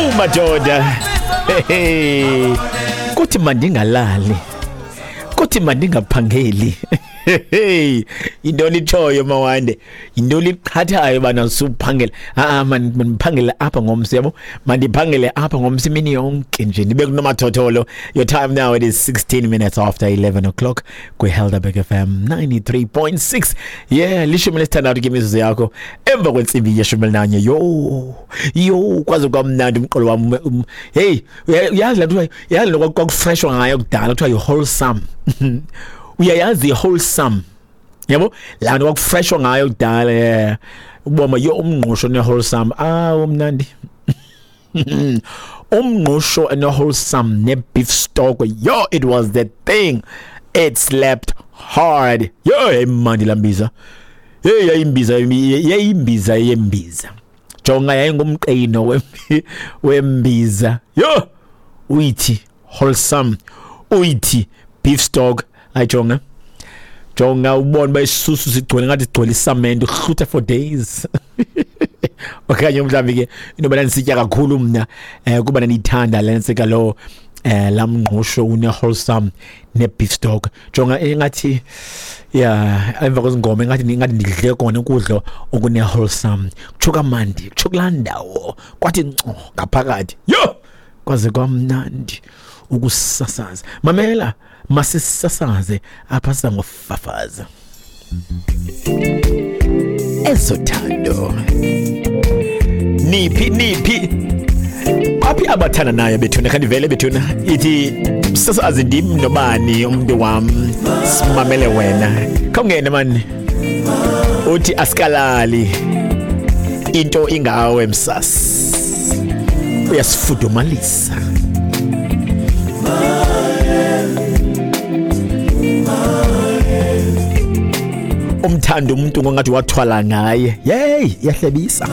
Owu madoda, hey, kuthi mandingalali, kuthi mandingaphangeli. Hey, yintoni itshoyo mawande, yintoni iqhathayo bana suphangela? A mandiphangele apha ngomso, yabo, mandiphangele apha ngomso imini yonke nje ndibe kunomathotholo. Your time now, it is 16 minutes after 11 o'clock kwiHelderberg FM 93.6. Yeah, 16 ke imizuzu yakho emva kwentsimbi ye-11. Yo yo, kwaze kwamnandi umqolo wam. Hey, uyazi laa nto, uyazi lo kwakufreshwa ngayo kudala kuthiwa yi-wholesome. Uyayazi i-wholesome, yabo, laa nto kwakufreshwa ngayo kudala? Yeah, uboma yo umngqusho ne-wholesome, ah, umnandi umngqusho ne-wholesome ne-beef stock. Yo, it was the thing, it slapped hard. Yo, yayimandi laa mbiza. Hey, yayimbiza, yayimbiza yembiza. Jonga, yayingumqino wembiza. Yo, uyithi wholesome, uyithi beef stock, ayijonga, jonga, ubone uba isisusu sigcwele ngathi sigcwele isamente, uhlutha for days. Okanye mhlawumbi ke inoba ndandisitya kakhulu mna, kuba ndandiyithanda le ntsika lo laa mngqusho une-wholesome ne-beef stock. Jonga, ingathi ya emva kwezingoma ingathi ndidle kona ukudla okune-wholesome, kutsho kamandi, kutsho kulaa ndawo kwathi nco ngaphakathi. Yho, kwaze kwamnandi ukusasaza. Mamela, masisasaze apha, siza ngofafaza ezothando. Niphi, niphi, baphi abathandanayo bethuna? Khandivele bethuna. Ithi sasazi ndim nobani umntu wam, simamele wena, khawungene mani. Uthi asikalali, into ingawe msas, uyasifudumalisa. Umthanda umuntu ngongathi wathwala ngaye. Yeyi, iyahlebisa.